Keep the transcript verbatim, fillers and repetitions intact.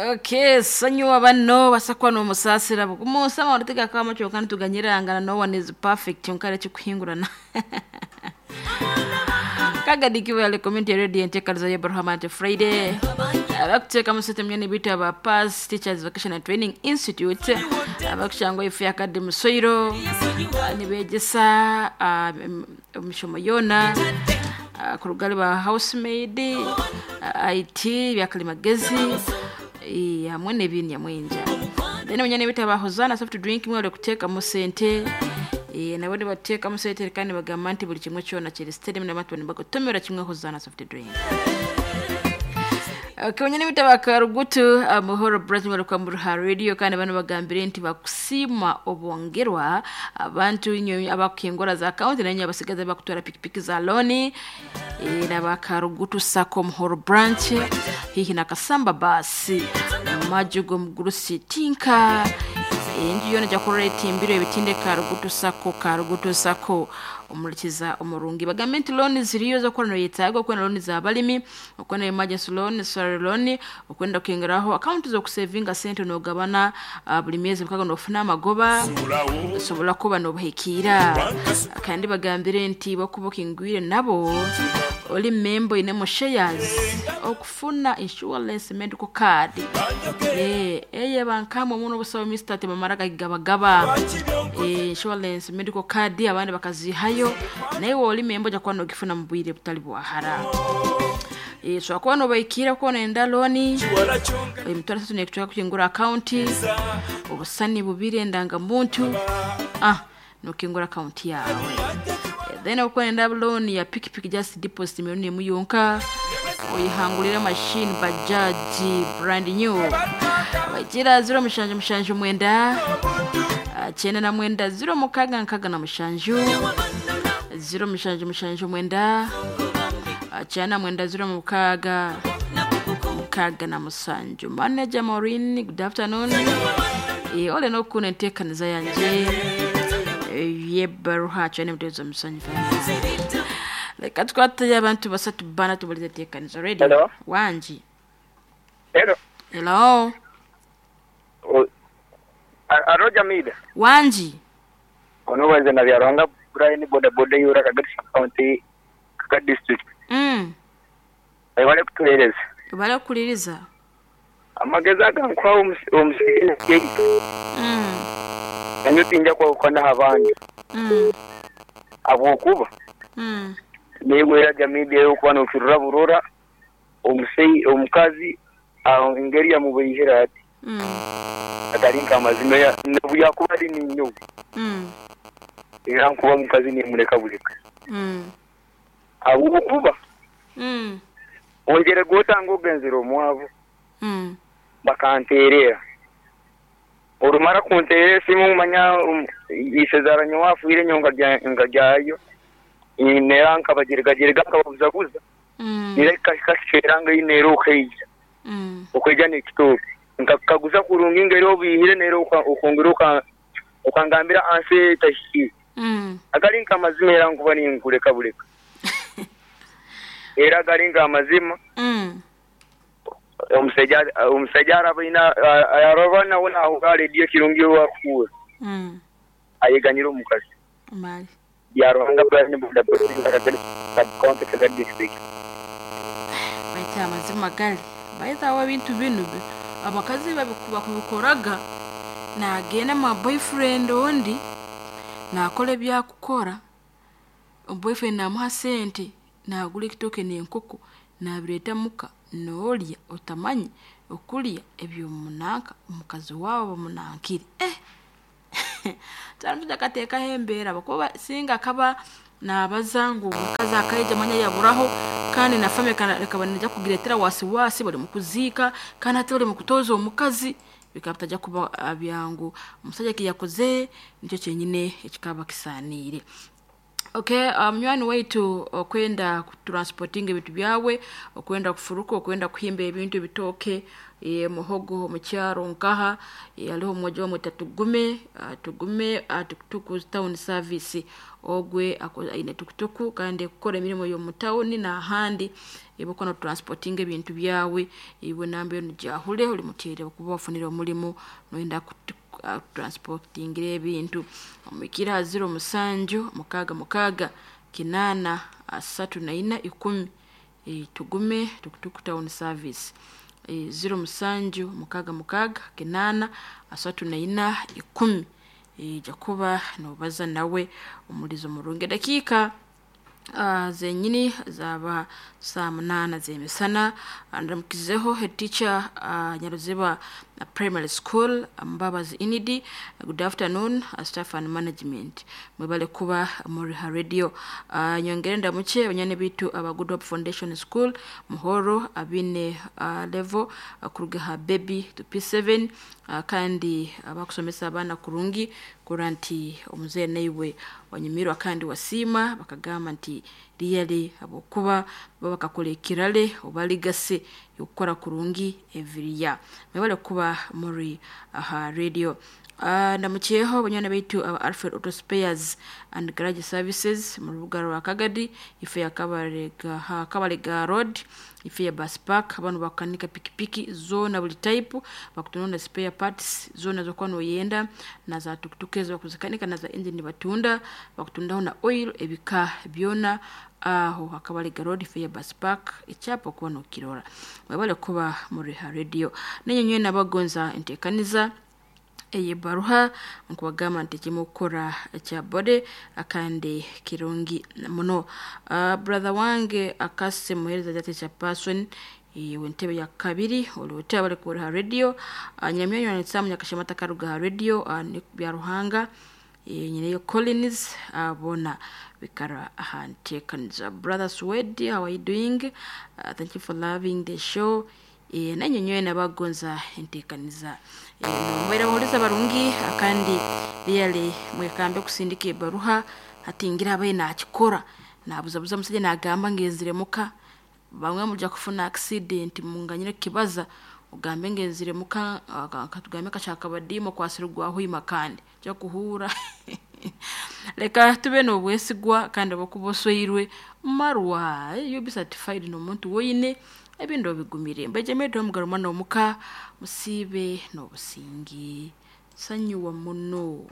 Okay, sanyuwa bano basakwa n'omusaasira bukumusama orutega kama kyokka nituganyirangana no one is perfect kyonka ekikuhingurana kagadikiwe ale community radio enteekaniza ya Abraham Friday abakuteeka mu sente myene bita ba Pass Teachers Vocational Training Institute abakushangwa ifu ya Academy Musoiro nibegesa ah, em- emishomo yona ah, ku rugari ba housemaid ah, I T byakalimagezi eh, hamwe n'ebindi nyamwinja then munyene bita ba Hosanna soft drink mwere kuteekamu sente eh, nabo nibateekamu sente kandi bagamba nti buli kimwe kyona kiri steady n'abantu nibagotomera kimwe Hosanna soft drink. Okay, wenyine bita bakarugutu amahoro Bright kwa muruha radio kandi bano bagambire nti bakusima obongerwa abantu inyo abakingora za county nanyo abasigaza bakutwara pikipiki za loni e, na bakarugutu sako muhoro branch hihi na kasamba basi majugo mugurusi tinka enju yona jakorera etimbiro ebitinde karugutu sako karugutu sako omulikiza omurungi bagambe nti looni ziriyo z'okuba noyetaaga okwenda looni z'abalimi okwenda emergency loan salary loan okwenda kuyingiraho akawunti z'okusevinga sente nogabana uh, buli myezi mukaga nofuna amagoba osobola kuba nobuhikiira kandi bagambire nti bakuba okingwire nabo oli membo inemo shares okufuna insurance medical card eh eye bankamwe muno busabe Mister tebamara gabagaba eh insurance medical card abandi bakazihayo naye woli membo jakuba nogifuna mu bwire butali bwahara eh so kuba nobaikira ko nenda loni emitwaro esatu nekuchaka kukingura akaunti obusani bubiri endangamuntu ah nokingura akaunti yawe Eh, then okwenda loan ya pikipiki just deposit milioni emu yonka oyihangulira machine bajaji brand new bagira zero mushanju mushanju mwenda ah, kyenda na mwenda zero mukaga nkaga na mushanju zero mushanju mushanju mwenda ah, kyenda na mwenda zero mukaga mukaga na musanju manager Maureen, good afternoon. Eh, ole nokuna enteekaniza yanje eh, yebaruha kyane mutezo musanju leka tukwatayo abantu basatu bana tubulize enteekaniza radio. Hello? Wangi. Hello. Hello. O- A- Aro Jamila. Wangi. Ono wenze na byarwanga Brian boda boda yura Kagadi County Kagadi District. Mm. Bale kutuhereza. Bale okuliriza. Amagezi agankwaho omusirikale Mm. nanyo tinja kwahukana abandi Mm. habwokuba Mm. negwera Jamila eyokuba nokirora burora omusei omukazi aho engeri yamubeihera ati Mm. atari nkamazima ya- nobu yakuba ari ninyowe Mm. era nkuba omukazi nimureka buleka Mm. habwokuba Mm. ongere gwotanga ogenzere omwavu Mm. bakanterera orumara kunterera esimu manya um, isezara nyowe afiire nyowe nkarya- nkaryayo nera nkabageregagerega nkababuzabuza Mm. nera kasera ngayi nera okeija Mm. okeija nekitooke nkakaguza kurungi ngeri obihire nera oka- okongera oka- okangambira ansi etahikire Mm. agari nkamazima era nkuba ninkuleka buleka era agari nkamazima Mm. omusajja omusajja araba ina araba nawe nahuka rediyo kirungi wakuura Mm. ayeganyira omukazi Mali. byaruhanga Brian boda boda Kagadi County Kagadi District. Baita amazima gali. Baita awo ebintu binu bi- abakazi babiku- bakubikoraga nagenda ma boyfriend ondi nakola ebyakukora boyfriend namuha sente nagura ekitooke n'enkoko nabireeta muka noolya otamanye okulya ebyomunanka omukazi waabo bamunankire eh taramutuja akateekaho embeera bakuba singa akaba nabaza ngu omukazi akaija manya yaburaho kandi na family kana- ekaba nija kugireetera wasiwasi bari mu kuziika kandi hati bari mu kutooza omukazi bikaba bitajya kuba ah, byangu omusajja kiyakoze nikyo kyenyine ekikaba kisaaniire. Okay, munywani um, waitu okwenda transporting ebintu byawe, okwenda kufuruka, okwenda kuhimba ebintu ebitooke, e, muhogo mukyaro nkaha, e, aliho mmoja wamwe tugume tugume tukutuku town service ogwe aine tukutuku kandi kukora emirimo y'omu town n'ahandi ebokona transporting ebintu byawe iwe namba eno jahule oli muteere okuba wafunire omulimu noyenda transportingira ebintu omwikira zero musanju mukaaga mukaaga kinaana asatu na ina ikumi e, tugume tukutuku town service e, zero musanju mukaaga mukaaga kinaana asatu na ina ikumi e, jakuba nobaza nawe omulizo murungi dakiika Uh, zenyini zaba saa munana zemisana ndamukizeho head teacher uh, Nyaruziba uh, primary school Mbabazi Inidi. Good afternoon uh, staff and management mwebale kuba muri ha radio. uh, nyongere ndamuche banyane bitu aba Good Hope Foundation School Muhoro abine uh, level uh, kuruga ha baby to P seven uh, kandi abakusomesa abana kurungi kuranti omuzehe naiwe wanyumirwa kandi wasiima bakagamba nti really abokuba bakakola ekirale oba legacy yokukora kurungi every year. Mwebale kuba muri aha radio. Uh, ndamukiyeho banywana baitu aba Alfred Auto Spares and Garage Services mu rubuga rwa Kagadi ife ya Kabarega ha Kabarega Road ife ya Bus Park. Abantu bakanika pikipiki zona buli type bakutununda spare parts zona zokuba noyenda na za tukutuku ezo bakuzikanika na za engine batunda bakutundaho na oil ebika byona aho Kabarega Road ife ya Bus Park ekyapa okuba nokirora. Mwebale kuba muri ha radio nenyenywe nabagonza entekaniza eye baruha nkubagamba nti kimukora kya bode akandi kirungi muno. Uh, brother wange akase muhereza jate cha person iwe ntebe ya kabiri olwote abali ku radio. uh, nyamyanyo nitsamu nyakashemata karuga radio uh, ni bya Ruhanga e, nyineyo Collins abona uh, bikara ahantekaniza. Brother Swedi, how are you doing? Uh, thank you for loving the show. E, nanyenywe nabagonza entekaniza e, nombaire abahuliza barungi akandi really mwekambe kusindika ebaruha hatingira abaye nakikora nabuzabuza musajja nagamba ngenzire muka bamwe muja kufuna accident munganyire kibaza ugambe ngenzire muka katugambe kashaka badimo kwasirugwa huima kandi cyo kuhura leka tube n'obwesigwa kandi obukubosoirwe marwa you be certified n'omuntu woyine ebintu bigumire mbeje medo omugaro mwana omuka musibe n'obusingi sanyuwa muno.